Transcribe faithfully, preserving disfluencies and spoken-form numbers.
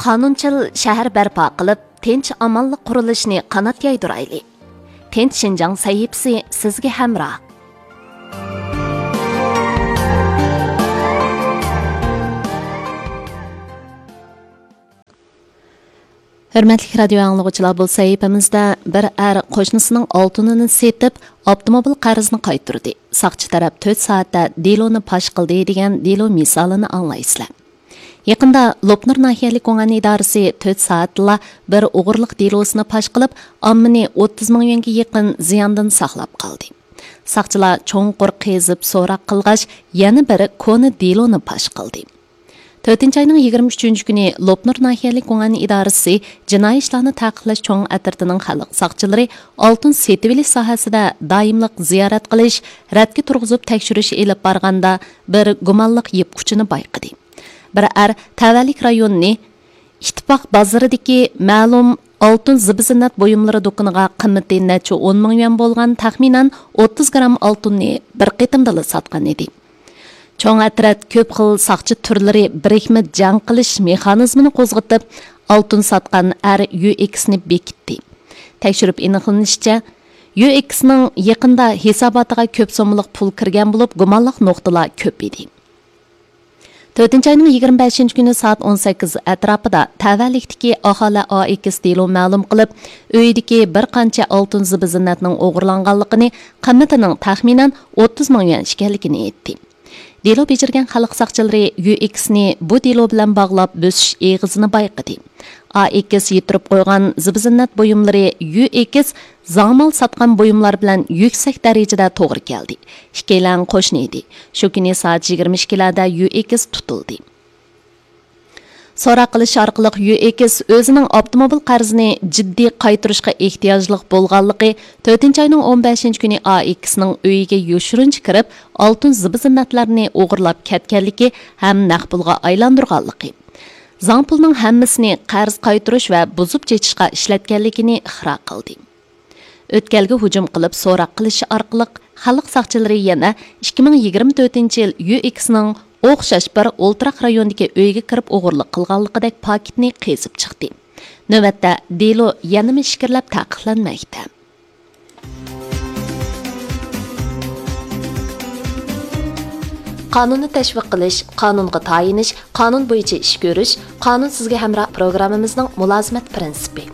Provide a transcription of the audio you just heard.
قانۇنچىل شەھەر بەرپا قىلىپ، تىنچ-ئامانلىق قۇرۇلۇشىنى قانات يايدۇرايلى. تىنچ شىنجاڭ سەھىپىسى سىزگە ھەمراھ. ھۆرمەتلىك رادىيو ئاڭلىغۇچىلار، بۇ سەھىپىمىزدە بىر ئەر قوشنىسىنىڭ ئالتۇنىنى سېتىپ، ئاپتوموبىل قەرزىنى قايتۇردى. ساقچى تەرەپ تۆت سائەتتە دېلونى پاش قىلدى دېگەن دېلو مىسالىنى ئاڭلايسىلەر. يېقىندا لوپنۇر ناھىيەلىك گۇڭئەن ئىدارىسى تۆت سائەتتىلا بىر ئوغرىلىق دېلوسىنى پاش قىلىپ، ئاممىنى ئوتتۇز مىڭ يۈەنگە يېقىن زىياندىن ساقلاپ قالدى. ساقچىلار چوڭقۇر قېزىپ سوراق قىلغاچ، يەنە بىر كونا دېلونى پاش قىلدى. تۆتىنچى ئاينىڭ يىگىرمە ئۈچىنچى كۈنى لوپنۇر ناھىيەلىك گۇڭئەن ئىدارىسى جىنايى ئىشلارنى تەقىبلەش چوڭ ئەترىتىنىڭ خەلق ساقچىلىرى ئالتۇن سېتىۋېلىش ساھەسىدە دائىملىق زىيارەت قىلىش، رەتكە تۇرغۇزۇپ تەكشۈرۈش ئېلىپ بارغاندا، بىر گۇمانلىق يىپ ئۇچىنى بايقىدى. بىر ئەر تەۋەلىك رايونىنى ئىتتىپاق بازىرىدىكى مەلۇم ئالتۇن زىبۇ-زىننەت بۇيۇملىرى دۇكىنىغا قىممىتى نەچچە ئون مىڭ يۈەن بولغان تەخمىنەن ئوتتۇز گرام ئالتۇننى بىر قېتىمدىلا ساتقان ئىدى. چوڭ ئەترەت كۆپ خىل ساقچى تۈرلىرى بىرىكمە جەڭ قىلىش مېخانىزمىنى قوزغىتىپ، ئالتۇن ساتقان ئەر يۈ ئېكسنى بېكىتتى. تەكشۈرۈپ ئېنىقلىنىشىچە، يۈ ئېكسنىڭ يېقىندا ھېساباتىغا كۆپ سوممىلىق پۇل كىرگەن بولۇپ، گۇمانلىق نۇقتىلار كۆپ ئىدى. تۆتىنچى ئاينىڭ يىگىرمە بەشىنچى كۈنى سائەت ئون سەككىز ئەتراپىدا تەۋەلىكتىكى ئاھالە ئا ئېكس دېلو مەلۇم قىلىپ، ئۆيىدىكى بىر قانچە ئالتۇن زىبۇ-زىننەتنىڭ ئوغرىلانغانلىقىنى، قىممىتىنىڭ تەخمىنەن ئوتتۇز مىڭ يۈەن ئىكەنلىكىنى ئېيتتى. دېلو بېجىرگەن خەلق ساقچىلىرى يۈ ئېكسنى بۇ دېلو بىلەن باغلاپ بۆسۈش ئېغىزىنى بايقىدى. ئا ئېكس يىتتۈرۈپ قويغان زىبۇ-زىننەت بۇيۇملىرى يۈ ئېكس زاڭمال ساتقان بۇيۇملار بىلەن يۈكسەك دەرىجىدە توغرا كەلدى. ئىككىيلەن قوشنا ئىدى. شۇ كۈنى سائەت يىگىرمە ئىككىلەردە يۈ ئېكس تۇتۇلدى. سوراق قىلىش ئارقىلىق يۈ ئېكس ئۆزىنىڭ ئاپتوموبىل قەرزىنى جىددىي قايتۇرۇشقا ئېھتىياجلىق بولغانلىقى، تۆتىنچى ئاينىڭ ئون بەشىنچى كۈنى ئا ئېكسنىڭ ئۆيىگە يوشۇرۇنچە كىرىپ، ئالتۇن زىبۇ-زىننەتلەرنى ئوغرىلاپ كەتكەنلىكى ھەم نەق پۇلغا ئايلاندۇرغانلىقى، زاڭ پۇلنىڭ ھەممىسىنى قەرز قايتۇرۇش ۋە بۇزۇپ چېچىشقا ئىشلەتكەنلىكىنى ئىقرار قىلدى. ئۆتكەلگە ھۇجۇم قىلىپ سوراق قىلىش ئارقىلىق خەلق ساقچىلىرى يەنە ئىككى مىڭ يىگىرمە تۆتىنچى يىل يۈ ئېكسنىڭ ئوخشاش بىر ئولتۇراق رايوندىكى ئۆيىگە كىرىپ ئوغرىلىق قىلغانلىقىدەك پاكىتنى قېزىپ چىقتى. نۆۋەتتە دېلو يەنىمۇ ئىچكىرىلەپ تەقىقلەنمەكتە. قانۇننى تەشۋىق قىلىش، قانۇنغا تايىنىش، قانۇن بويىچە ئىش كۆرۈش، قانۇن سىزگە ھەمراھ پروگراممىمىزنىڭ مۇلازىمەت پىرىنسىپى.